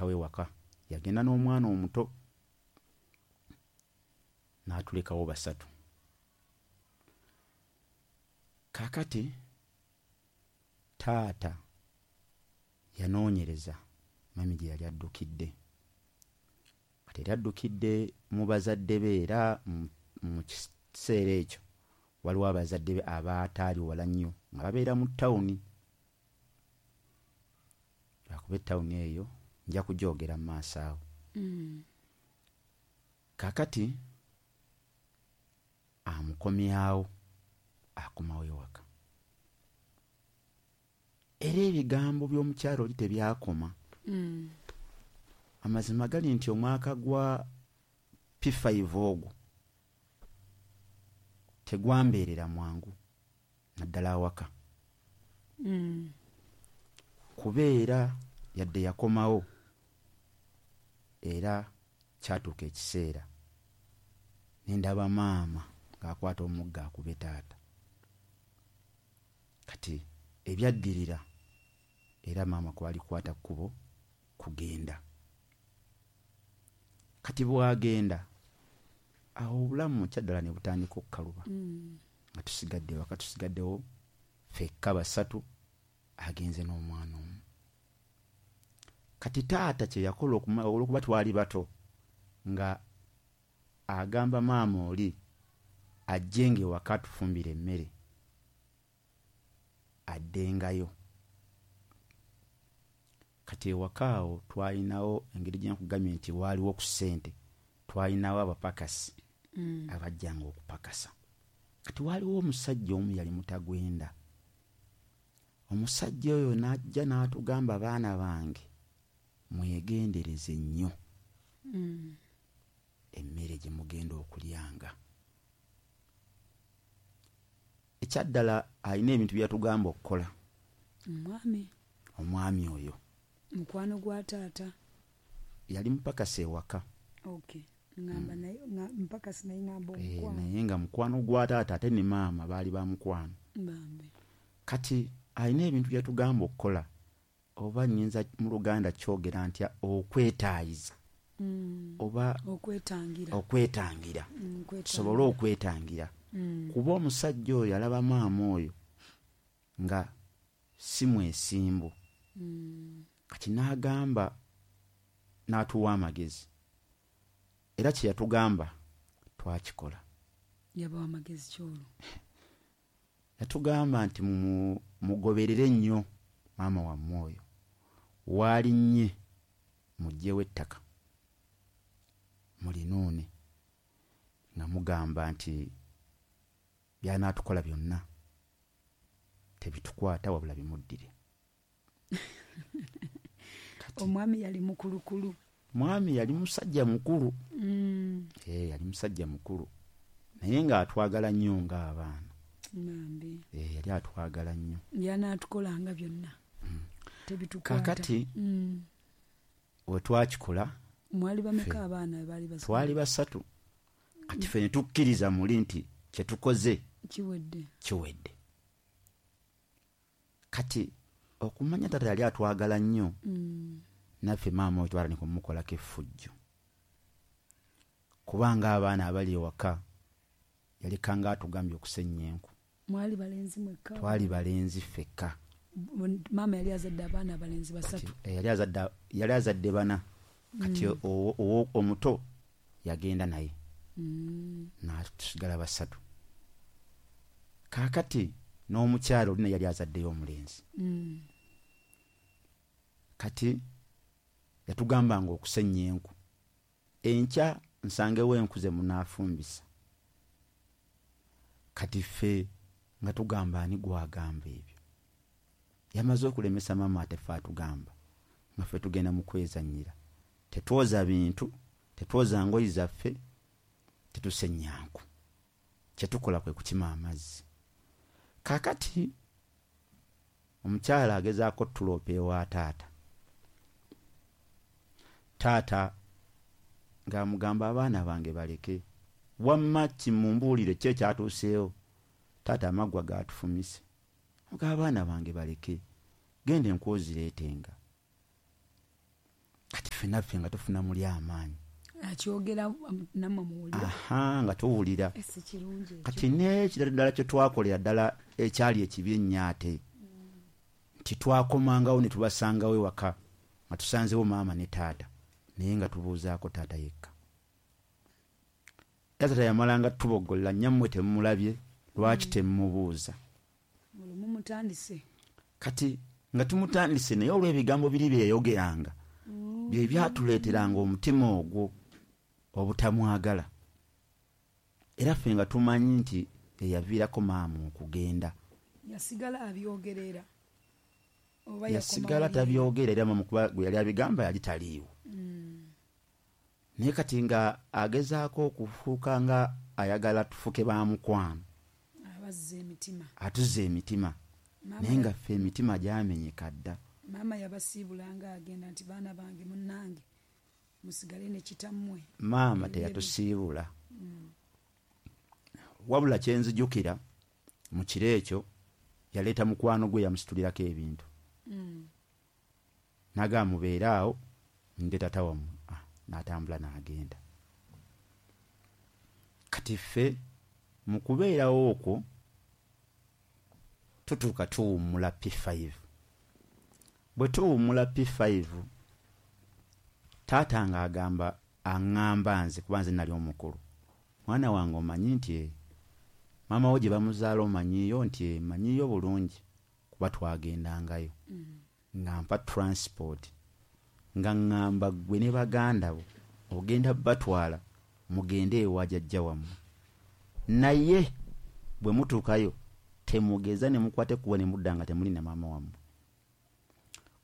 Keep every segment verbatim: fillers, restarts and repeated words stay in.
yatulekawo ewaka, yagenda n'omwana omuto n'atulekawo basatu. Kaakati taata yanoonyereza mami gye yali addukidde. Kati yali addukidde mu bazadde be, era mu kiseera ekyo waliwo abazadde be abaataali wala nnyo nga babeera mu tawuni. Lwakuba ettawuni eyo nja kugyogera mu maaso awo. Mm. Kaakati amukomyawo, akomawo ewaka. Era ebigambo by'omukyalo oli tebyakoma. Mm. Amazima gali nti omwaka gwa P five ogwo tegwambeerera mwangu naddala awaka. Mm. Kubeera yadde yakomawo, era kyatuuka ekiseera ne ndaba maama ng'akwata omuggo akube taata. Kati ebyaddirira era maama kwali kukwata kkubo kugenda. Kati bw'agenda awo obulamu kyaddala ne butandika okukaluba. Mm. Nga tusigadde waka, tusigaddewo ffekka basatu, agenze n'omwana omu. Kati taata kye yakola olw'okuba twali bato, nga agamba maama oli ajjenga ewaka atufumbire emmere addengayo. Kati ewaka awo twalinawo engeri gye nkugambye nti waaliwo ku ssente, twalinawo abapakasi mm. abajjanga okupakasa. Kati waaliwo omusajja omu yali mutagwenda. Omusajja oyo n'ajja n'atugamba, baana bange mwegendereze nnyo mm. emmere gye mugenda okulyanga. Ekyaddala alina ebintu bye yatugamba okukola. Omwami omwami oyo mukwano gwa taata yali mupakasi ewaka. Okay. Ngamba naye mpakasi naye ngamba omukwano. Eh, naye nga mukwano gwa taata ate ne maama baali ba mukwano. Bambi. Kati alina ebintu bye yatugamba okukola, oba nnyinza mu Luganda kyogera ntya, okwetaayiza. Mm. Oba okwetangira. Okwetangira. Mm, tusobole okwetangira. Mm. Kuba omusajja oyo yalaba maama oyo nga si mwesimbu. Mm. Kati n'agamba n'atuwa amagezi. Era kye yatugamba twakikola. Yabawa amagezi kyolo. Yatugamba nti mugoberere nnyo maama wammwe oyo. Waalinnye muggyewo ettaka mulinuune, nga mugamba nti by'anaatukola byonna tebitukwata wabula bimuddire. Omwami yali mukulukulu. Mwami yali musajja mukulu. Mm. Eh, yali musajja mukulu. Naye ng'atwagala nnyo ng'abaana. Bambi. Eh, yali atwagala nnyo. Yanaatukolanga byonna. Mm. Tebitukwata. Kaakati mm. we twakikola mwali bameka abaana baali basatu? Twali basatu. Kati ffe ne tukkiriza muli nti kye tukoze kiwedde. Kiwedde. Kati okumanya taata yali atwagala nnyo, mm. naffe maama oyo twatandika okumukolako effujjo. Kubanga abaana abali ewaka yalekanga atugambye okusennya enku. Mwali balenzi mwekka? Twali balenzi ffekka. Maama yali azadde abaana abalenzi basatu. Eh, yali azadde, yali azadde bana. Kati mm. omuto yagenda naye. Mm. N'atusigala basatu. Kaakati n'omukyala oli naye yali azaddeyo omulenzi. Mm. Kati yatugambanga okusennya enku. Enkya nsangewo enku ze munaafumbisa. Kati ffe nga tugamba ani gw'agamba ebyo. Yamaze okulemesa maama ate ffe atugamba nga ffe tugenda mu kwezannyira. Tetwoza bintu, tetwoza ngoye zaffe, tetusennya nku. Kye tukola kwe kukima amazzi. Kaakati omukyala agezaako tuloopa ewa taata. Taata ng'amugamba abaana bange baleke. Wamma kimumbuulire ki ekyatuuseewo. Taata amaggwa gaatufumise. Nga abaana bange baleke. Genda enku ozireetenga. Kati Ffenaffe nga tufuna muli amaanyi. Akyogera nammwe muwulira. Aha, nga tuwulira. Si kirungi ekyo. Kati n'ekirala ddala kye twakolera ddala ekyali ekibi ennyo ate, nti twakomangawo ne tubasangawo ewaka nga tusanzewo maama ne taata, naye nga tubuuzaako taata yekka. Taata yamalanga tuboggolera, nnyammwe temumulabye, lwaki temumubuuza? Olwo mumutandise. Kati nga tumutandise, naye olw'ebigambo biri bye yayogeranga bye byatuleeteranga omutima ogwo obutamwagala. Era ffe nga tumanyi nti eyaviirako maama okugenda. Yasigala abyogerera. Oba yasigala tabyogera, era maama kuba gwe yali abigamba yali taliiwo. Naye kati nga agezaako okufuuka nga ayagala tufuke ba mukwano. Abazza emitima. Atuzza emitima. Naye nga ffe emitima gyamenyeka dda. Maama yabasiibulanga agenda nti baana bange munnange musigale ne kitammwe. Maama teyatusiibula. Wabula kye nzijukira mu kiro ekyo yaleeta mukwano gwe yamusitulirako ebintu. N'agamba mubeere awo nde taata wammwe. Ah, n'atambula n'agenda. Kati ffe mu kubeerawo okwo tutuuka tuwummula P five. Bwe tuwummula P five, taata ng'agamba aŋŋamba nze kuba nze nali omukulu. Mwana wange omanyi nti maama wo gye bamuzaala omanyiiyo nti manyiiyo bulungi kuba twagendangayo. Nga mpa transport. Nga ŋŋamba ggwe ne baganda bo ogenda batwala mugende ewa jjajja wammwe. Naye bwe mutuukayo temugeza ne mukwate kuba ne mudda nga temuli na maama wammwe.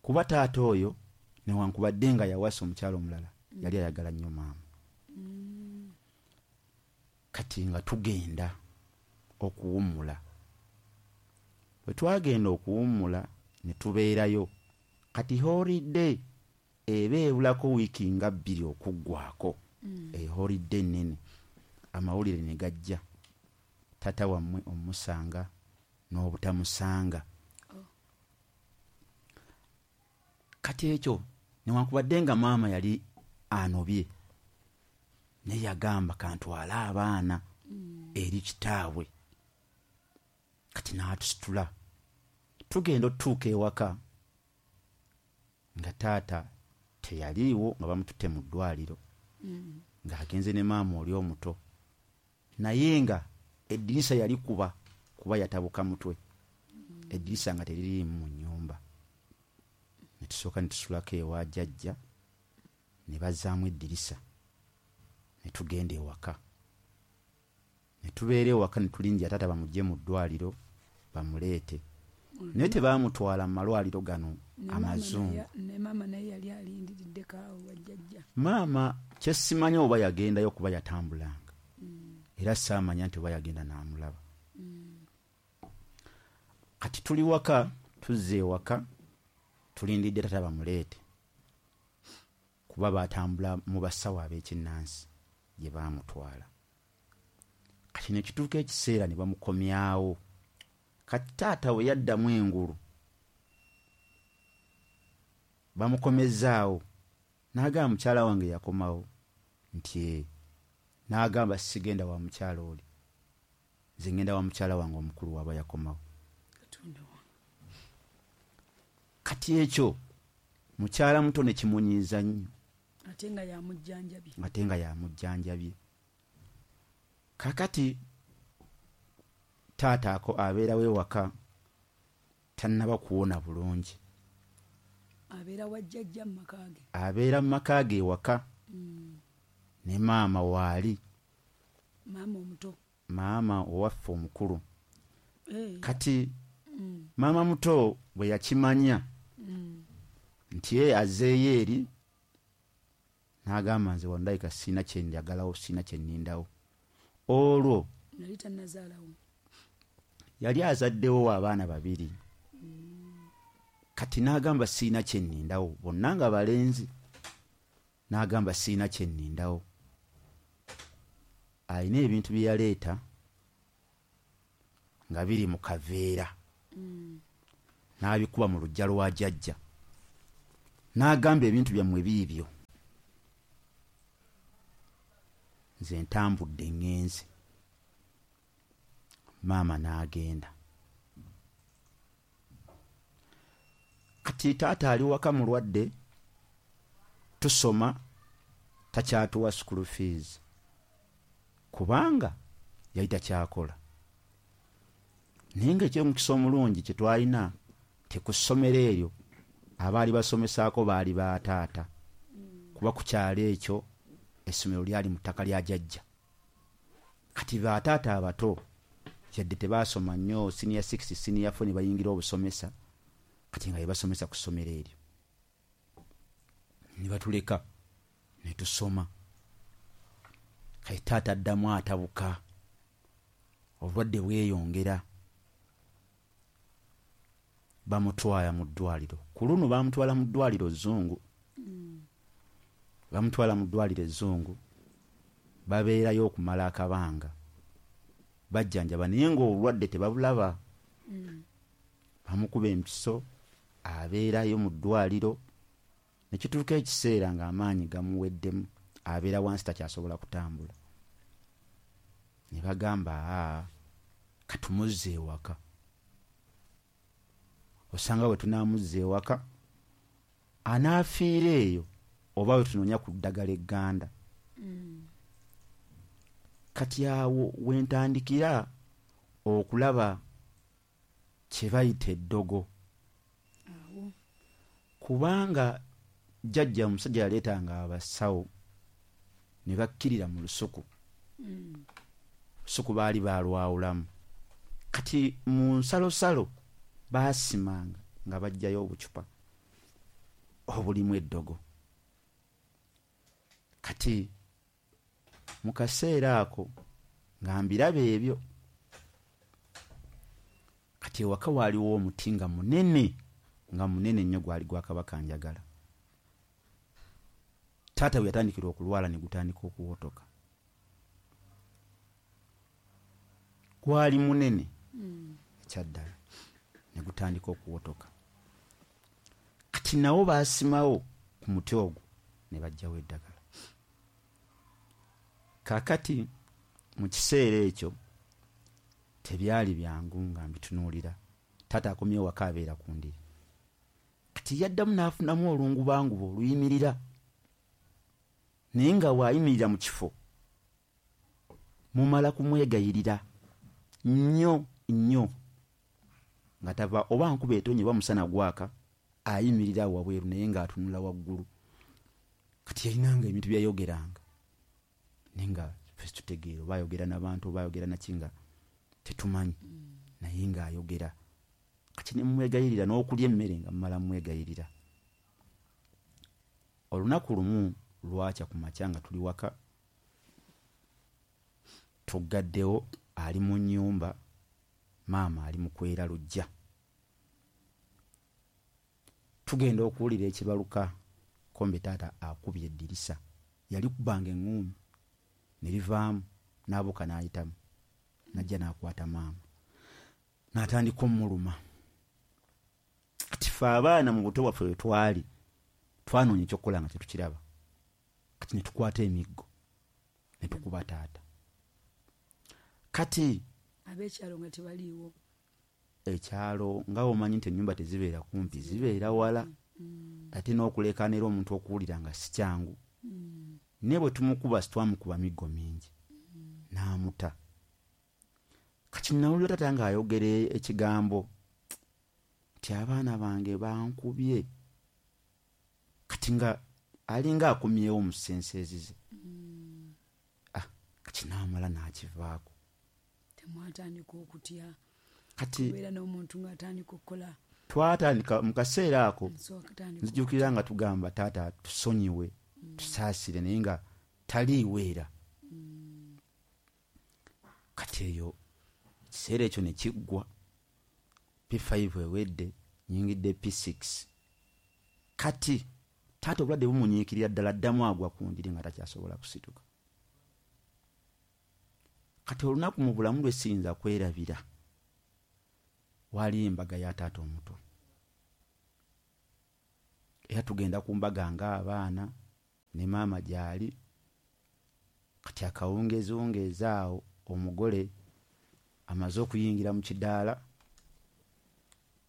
Kuba taata oyo newankubadde nga yawasa omukyala omulala yali ayagala nnyo maama. Kati nga tugenda okuwummula. Bwe twagenda okuwummula ne tubeerayo. Kati holiday eba ebulako wiiki nga bbiri okuggwako. Eholiday nnene. Amawulire ne gajja. Taata wammwe omusanga n'obutamusanga. Kati ekyo newankubadde nga maama yali anobye, naye yagamba kantwale abaana eri kitaabwe. Kati n'atusitula. Tugenda otutuuka ewaka nga taata teyaliiwo, nga bamututte mu ddwaliro, ng'agenze ne maama oli omuto, naye nga eddirisa yalikuba kuba yatabuka mutwe. Eddirisa nga teririimu mu nnyumba. Ne tusooka ne tusulako ewa jjajja, ne bazzaamu eddirisa, ne tugenda ewaka. Ne tubeera ewaka ne tulinnya taata bamuggye mu ddwaliro bamuleete. Naye tebaamutwala mu malwaliro gano amazungu. Ne maama naye yali alindiriddeko awo wa jjajja. Maama kye simanyi oba yagendayo kuba yatambulanga. Era saamanya nti oba yagenda n'amulaba. Kati tuli waka, tuzze ewaka, tulindidde taata bamuleete. Kuba baatambula mu basawo ab'ekinnansi gye baamutwala. Kati ne kituuka ekiseera ne bamukomyawo. Kati taata we yaddamu engulu, bamukomezzaawo. N'agamba mukyala wange yakomawo nti n'agamba sigenda wa mukyala oli, nze ngenda wa mukyala wange omukulu waba yakomawo. Kati ekyo mukyala muto ne kimunyiiza nnyo. Ate nga yamujjanjabye. Ate nga yamujjanjabye. Kaakati taata ako abeerawo ewaka tannaba kuwona bulungi. Abeera wa jjajja mu maka ge. Abeera mu maka ge ewaka. Ne maama waali. Maama omuto. Maama owaffe omukulu. Kati maama muto bwe yakimanya nti ye azzeeyo eri, n'agamba nze wandayika sirina kye njagalawo, sirina kye nnindawo. Olwo yali tannazaalawo. Yali azaddewo abaana babiri. Kati n'agamba sirina kye nnindawo, bonna nga balenzi. N'agamba sirina kye nnindawo. Alina ebintu bye yaleeta nga biri mu kaveera. N'abikuba mu luggya lwa jjajja. N'agamba ebintu byammwe biibyo. Nze ntambudde ŋŋenze. Maama n'agenda. Kati taata ali waka mulwadde, tusoma, takyatuwa school fees kubanga yali takyakola. Naye ng'ekyomukisa omulungi kye twalina te ku ssomero eryo abaali basomesaako baali ba taata, kuba ku kyalo ekyo essomero lyali mu ttaka lya jjajja. Kati ba taata abato yadde tebaasoma nnyo senior six, senior four ne bayingira obusomesa, kati nga bebasomesa ku ssomero eryo ne batuleka ne tusoma. Kati taata addamu atabuka, obulwadde bweyongera, bamutwala mu ddwaliro. Ku luno bamutwala mu ddwaliro Zzungu, bamutwala mu ddwaliro Ezzungu, babeerayo okumala akabanga bajjanjaba, naye ng'obulwadde tebabulaba. Bamukuba empiso, abeerayo mu ddwaliro ne kituuka ekiseera ng'amaanyi gamuweddemu, abeera wansi takyasobola kutambula. Ne bagamba aa katumuzze ewaka, osanga bwe tunaamuzza ewaka anaafiira eyo oba we tunoonya ku ddagala egganda. Kati awo we ntandikira okulaba kye bayita eddogo, kubanga jjajja omusajja yaleetanga abasawo ne bakkirira mu lusuku. Lusuku baali baalwawulamu. Kati mu nsalosalo baasimanga nga baggyayo obucupa obulimu eddogo. Kati mu kaseera ako nga mbiraba ebyo, kati ewaka waaliwo omuti nga munene, nga munene nnyo, gwali gwa Kabaka Njagala. Taata bwe yatandikira okulwala ne gutandika okuwotoka. Gwali munene ekyaddala, ne gutandika okuwotoka. Kati nawo baasimawo ku muti ogwo ne baggyawo eddagala. Kaakati mu kiseera ekyo tebyali byangu nga mbitunuulira. Taata akomyewo waka abeera ku ndiri. Kati yaddamu n'afunamu olungubanguba oluyimirira, naye nga bw'ayimirira mu kifo mumala kumwegayirira nnyo nnyo, nga tava oba nkuba etonye oba musana gwaka, ayimirira awo wabweru naye ng'atunula waggulu. Kati yalinanga ebintu byayogeranga, naye nga ffe tutegeera oba ayogera n'abantu oba ayogera naki nga tetumanyi, naye ng'ayogera. Kati ne mumwegayirira n'okulya emmere nga mmala mmwegayirira. Olunaku lumu lwakya ku makya nga tuli waka, tuggaddewo, ali mu nnyumba, maama ali mu kwera luggya. Tugenda okuwulira ekibaluka, kombe taata akubye eddirisa. Yali kubanga eŋŋuumi ne livaamu, n'abuuka n'ayitamu, n'ajja n'akwata maama n'atandika omuluma. Kati ffe abaana mu buto bwaffe bwe twali twanoonya ekyokukola nga tetukiraba. Kati ne tukwata emiggo ne tukuba taata. Kati ab'ekyalo nga tebaliiwo, ekyalo nga omanyi nti ennyumba tezibeera kumpi, zibeera wala, ate n'okuleekaanira omuntu okuwulira nga si kyangu. Naye bwe tumukuba sitwamukuba miggo mingi, n'amuta. Kati nawulira taata ng'ayogera ekigambo nti abaana bange bankubye. Kati nga alinga akomyewo mu senseezi ze. Ah, kati n'amala n'akivaako. Temwatandika okutya Kati kubeera n'omuntu ng'atandika okukola? Twatandika mu kaseera ako, So akatandika nzijukira nga tugamba taata tusonyiwe, tusaasire, naye nga taliiwo era. Kati eyo ekiseera ekyo ne kiggwa. P five ewedde, nnyingidde P six. Kati taata obulwadde bumunyiikirira ddala, addamu agwa ku ndiri nga takyasobola kusituka. Kati olunaku mu bulamu lwe siyinza kwerabira, waaliyo embaga ya taata omuto. Era tugenda ku mbaga ng'abaana ne maama gy'ali. Kati akawungeziwungeezi awo omugole amaze okuyingira mu kidaala,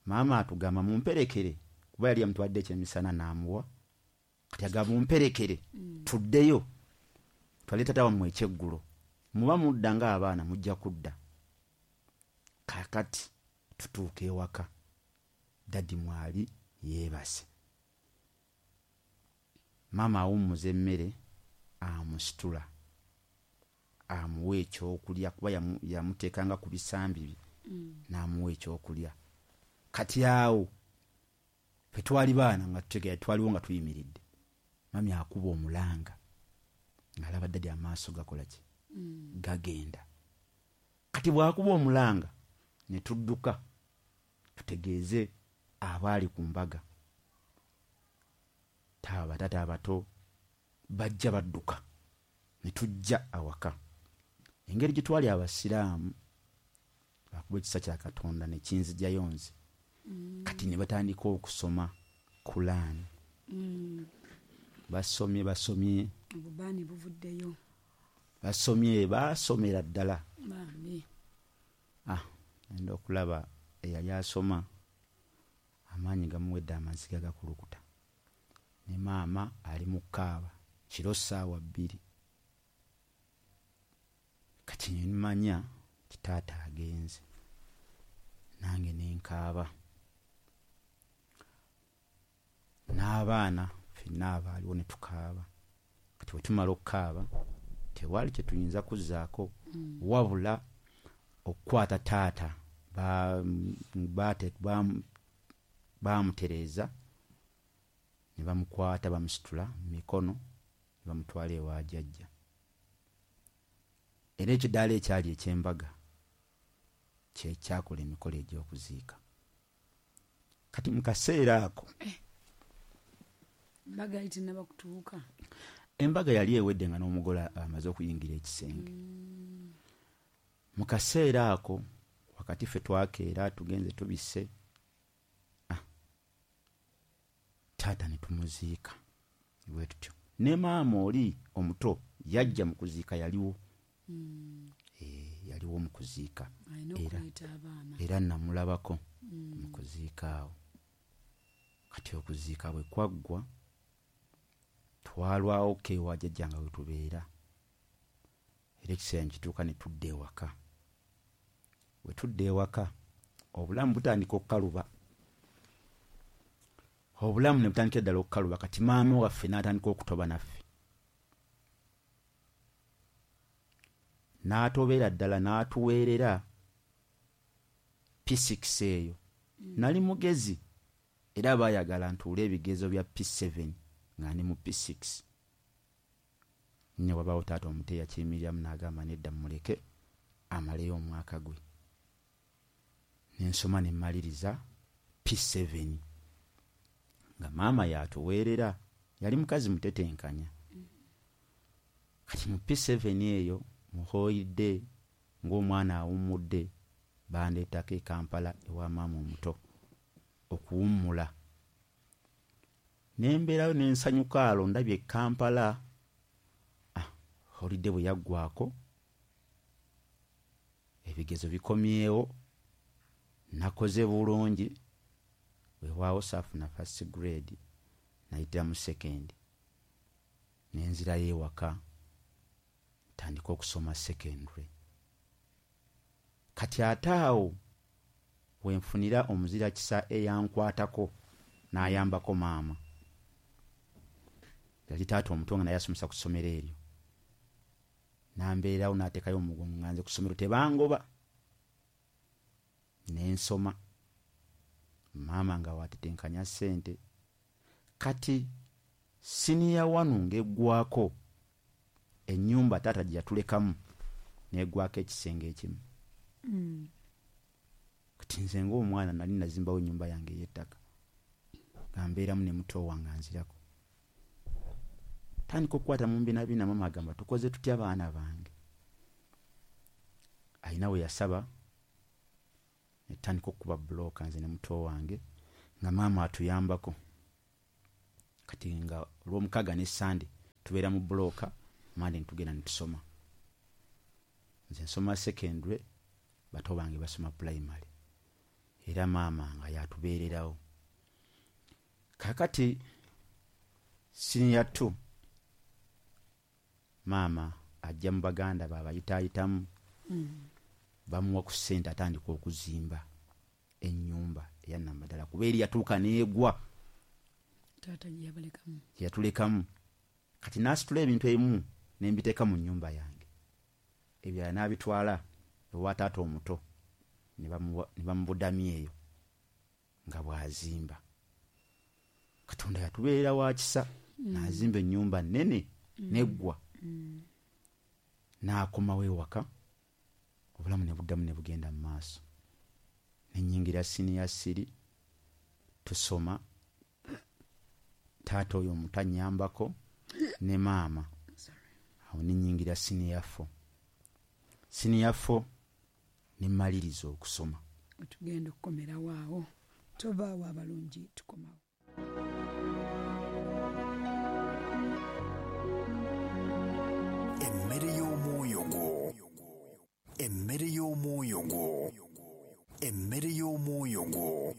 maama atugamba mumperekere, kuba yali yamutwadde ekyemisana n'amuwa. Kati agamba mumperekere Mm. tuddeyo twale taata wammwe ekyeggulo, muba mudda ng'abaana mujja kudda. Kaakati tutuuka ewaka, daddy mwali yeebase. Maama awummuza emmere, amusitula amuwa ekyokulya, kuba yamu-, yamuteekanga ku bisambi bye, Mm. n'amuwa ekyokulya. Kati awo ffe twali baana nga tutegeera, twaliwo nga tuyimiridde. Mami akuba omulanga ng'alaba daddy amaaso gakola ki? Mm. Gagenda. Kati bw'akuba omulanga ne tudduka tutegeeze abaali ku mbaga. Taaba bataata abato bajja badduka ne tujja awaka. Engeri gye twali abasiraamu, bakuba ekisa kya Katonda ne kinzigyayo nze. Mm. Kati ne batandika okusoma Kulaani. Mm. Basomye, basomye. Obubaani buvuddeyo. Basomye, baasomera ddala. Bambi. Ah, ngenda okulaba eyali asoma amaanyi gamuwedde, amaziga gakulukuta. Ne maama ali mu kkaaba kiro ssaawa bbiri. Kati ne mmanya nti taata agenze, nange ne nkaaba. N'abaana ffenna abaaliwo ne tukaaba. Kati bwe tumala okukaaba tewaali kye tuyinza kuzzaako, Mm. wabula okukwata taata ba-, baate-, baamu-, baamutereeza ne bamukwata bamusitula mu mikono ne bamutwala ewa jjajja. Era ekidaala ekyali eky'embaga kye kyakola emikolo egy'okuziika. Kati mu kaseera ako Eh, embaga yali tennaba kutuuka. Embaga yali ewedde nga n'omugole amaze okuyingira ekisenge. Mm. Mu kaseera ako wakati ffe twakeera tugenze tubisse, ah, taata ne tumuziika bwe tutyo. Ne maama oli omuto yajja mu kuziika, yaliwo. Mm. Eh, yaliwo mu kuziika. Alina Era okuleeta abaana. Era namulabako Mm. mu kuziika awo. Kati okuziika bwe kwaggwa, twalwawo ko ewa jjajja nga we tubeera. Era ekiseera ne kituuka ne tudda ewaka. Bwe tudda ewaka, obulamu butandika okukaluba. Obulamu ne butandikira ddala okukaluba. Kati maama waffe n'atandika okutoba naffe. N'atobera ddala n'atuweerera P six eyo. Mm. Nali mugezi era baayagala ntuule ebigezo bya P seven nga ndi mu P six. Ne wabaawo taata omuto eyakiyimiriramu n'agamba nedda mmuleke amaleyo omwaka gwe. Ne nsoma ne mmaliriza P seven. Nga maama y'atuweerera, yali mukazi mutetenkanya. Kati mu P seven eyo muhooyidde ng'omwana awummudde, bandeetako e Kampala ewa maama omuto okuwummula. Ne mbeerayo ne nsanyuka alo ndabye e Kampala. Ah, holiday bwe yaggwaako, ebigezo bikomyewo, nakoze bulungi, weewaawo saafuna first grade, nayitira mu second. Ne nzirayo ewaka, ntandika okusoma secondary. Kati ate awo we nfunira omuzira kisa eyankwatako n'ayambako maama. Yali taata omuto nga naye asomesa ku ssomero eryo. N'ambeerawo n'ateekayo omugongo nga nze ku ssomero tebangoba. Ne nsoma. Maama nga waatetenkanya ssente. Kati siniya wanu ng'eggwako ennyumba taata gye yatulekamu n'eggwako ekisenge ekimu. Mm. Kati nze ng'omwana nali nazimbawo ennyumba yange ey'ettaka. Nga mbeeramu ne muto wange anzirako. Tandika okukwata mu mbinabina, maama agamba tukoze tutya baana bange. Alina we yasaba, ne tutandika okukuba bbulooka nze ne muto wange, nga maama atuyambako. Kati nga olw'omukaaga ne Sande tubeera mu bbulooka, Mande ne tugenda ne tusoma. Nze nsoma secondary, bato bange basoma primary. Era maama nga yatubeererawo. Kaakati senior two, maama ajja mu baganda baabayitaayitamu, Mm. bamuwa ku ssente atandika okuzimba ennyumba eya Namaddala, kuba eri yatuuka n'egwa. Taata gye yabalekamu. Gye yatulekamu. Kati n'asitula ebintu ebimu ne mbiteeka mu nnyumba yange, ebirala n'abitwala ewa taata omuto ne bamuwa-, ne bamubudamya eyo nga bw'azimba. Katonda yatubeerera wa kisa, Mm. n'azimba ennyumba nnene Mm. n'eggwa. Mm. N'akomawo ewaka, obulamu ne buddamu ne bugenda mu maaso. Ne nnyingira siniya ssiri, tusoma, taata oyo omuto annyambako ne maama. Sorry. Awo ne nnyingira siniya four. Siniya four ne mmaliriza okusoma. Tugenda okukomerawo awo. Tovaawo abalungi, tukomawo. Emmere y'omwoyo gwo. Emmere y'omwoyo gwo. Emmere y'omwoyo gwo.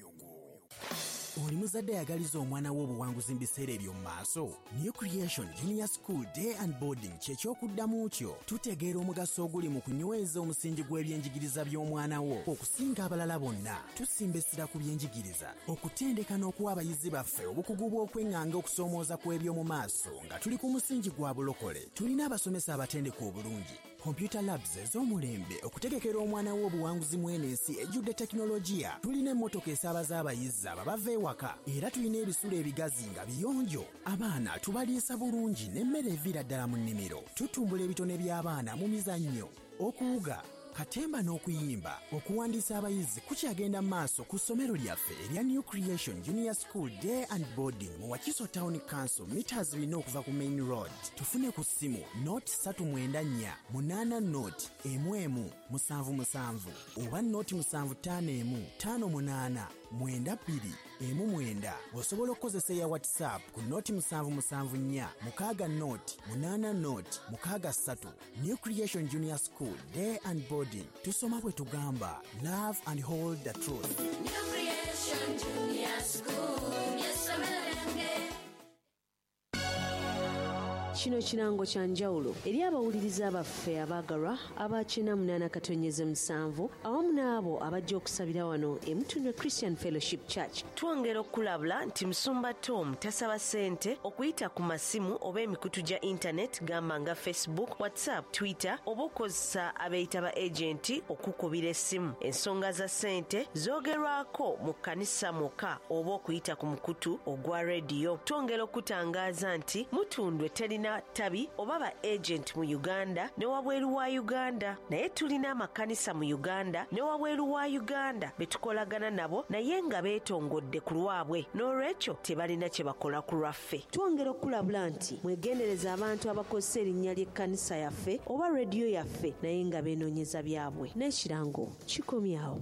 Oli muzadde ayagaliza omwana we obuwanguzi mu biseera eby'omu maaso? New Creation Junior School Day and Boarding kye ky'okuddamu kyo. Tutegeera omugaso oguli mu kunyweza omusingi gw'ebyenjigiriza by'omwana wo okusinga abalala bonna. Tusimba essira ku byenjigiriza, okutendeka n'okuwa abayizi baffe obukugu bw'okweŋŋanga okusoomooza kw'eby'omu maaso nga tuli ku musingi gwa bulokole. Tulina abasomesa abatendeka obulungi, computer labs ez'omulembe okutegekera omwana wo obuwanguzi mu eno ensi ejjudde tekinologiya. Tulina emmotoka esaabaza abayizi abo abava ewaka, era tulina ebisulo ebigazi nga biyonjo. Abaana tubaliisa bulungi n'emmere eviira ddala mu nnimiro. Tutumbula ebitone by'abaana mu mizannyo, okuwuga, katemba n'okuyimba. Okuwandiisa abayizi kukyagenda mu maaso ku ssomero lyaffe erya New Creation Junior School Day and Boarding mu Wakiso Town Council, meters bina okuva ku main road. Tufune ku ssimu nought ssatu mwenda nnya munaana nought emu emu musanvu musanvu oba nought musanvu ttaano emu ttaano munaana mwenda bbiri emu mwenda. Osobola okukozesa eya WhatsApp ku nought musanvu musanvu nnya mukaaga nought munaana nought mukaaga ssatu. New Creation Junior School Day and Boarding. Tusoma bwe tugamba, love and hold the truth. New Creation Junior School, ly'essomero lyange. Kino kirango kya njawulo eri abawuliriza baffe abaagalwa aba kyenda munaana katonyeze musanvu awamu n'abo abajja okusabira wano e Mutundwe Christian Fellowship Church. Twongera okulabula nti Musumba Tom tasaba ssente okuyita ku masimu oba emikutu gya internet gamba nga Facebook, WhatsApp, Twitter oba okukozesa abeeyita ba agenti okukubira essimu. Ensonga za ssente zoogerwako mu kkanisa mwokka oba okuyita ku mukutu ogwa rediyo. Twongera okutangaaza nti Mutundwe terina tabi oba ba agent mu Uganda ne wabweru wa Uganda, naye tulina amakanisa mu Uganda ne wabweru wa Uganda be tukolagana nabo naye nga beetongodde ku lwabwe, n'olwekyo tebalina kye bakola ku lwaffe. Twongera okulabula nti mwegendereza abantu abakozesa erinnya ly'ekkanisa yaffe oba rediyo yaffe naye nga beenoonyeza byabwe. N'ekirango kikomyawo.